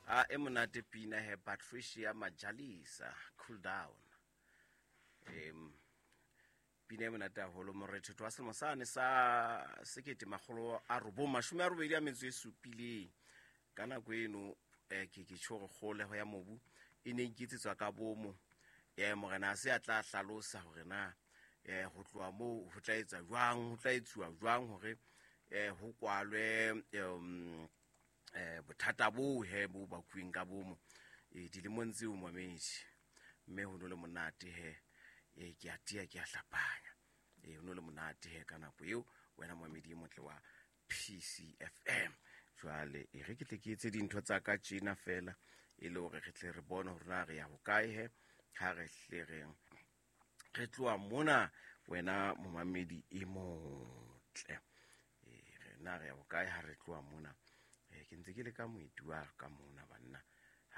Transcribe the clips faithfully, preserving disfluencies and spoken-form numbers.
A e monate pina he, Patricia Majalisa, "Cool Down". Em pina e monate haholo, morethetho wa selemo sane sa sekete makgolo a robong mashome a robedi a metso e supileng. Ka nako eno eh, ke ke tjho hore kgoleho ya mobu e ne iketsetswa ka bomo. eh Morena a se a tla hlalosa hore na eh ho tloha moo ho tla etsa jwang, ho tla etsuwa jwang hore eh ho kwalwe um eh bothata bo he bo bakuweng ka bomo eh dilemong tseo, momedi. Mme ho no le monate he. eh ke a tia, ke a hlapanya, eh ho no le monate he ka nako eo, wena momedi e motle wa P C F M. Jwale e re ke tle ke etse dintho tsa ka tjena fela, e le hore re tle re bone hore na re ya hokae he ha re hle re re tloha mona, wena momamedi e motle. Eh, re na re ya hokae ha re tloha mona? Eh, ke ntse ke le ka moeti wa ka mona, banna,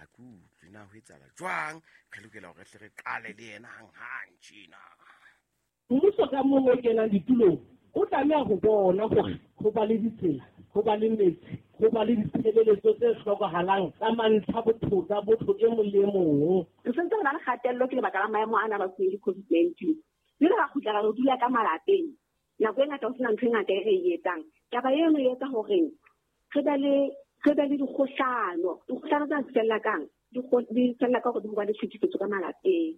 ha ke utlwe na ho etsahala jwang. Re lokela hore re hle re qale le yena hanghang tjena. Mmuso ka mong o kenang ditulong o tlameha ho bona hore ho ba le ditsela, ho ba le metsi, ho ba le ditshebeletso tse hlokahalang tsa mantlha botho tsa botho e mong le e mong. Re sentse re na le kgatello ke lebaka la maemo ana a bakuweng ke COVID nineteen, mme re kgutla ra re dula ka malapeng nako e ngata, ho sena ntho e ngata e re e etsang. Taba eno e etsa hore re be le re be le dikgohlano. Dikgohlano tsena di fella kang? Di fella ka hore di ho ba le tlhekefetso ka malapeng.